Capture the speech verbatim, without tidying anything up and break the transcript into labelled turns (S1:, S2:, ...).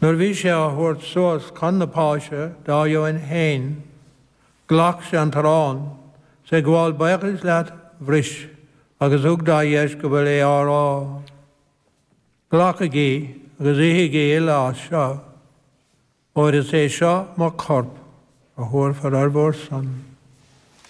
S1: Nuair bhí sé á thabhairt suas chun na Páise dá dheoin féin, ghlac sé an t-arán, 's ag gabháil buíochais leat bhris, agus thug dá dheisceabail é á rá. Glacaigí agus ithigí uile as seo, óir is é seo mo chorp a thabharfar ar bhur son.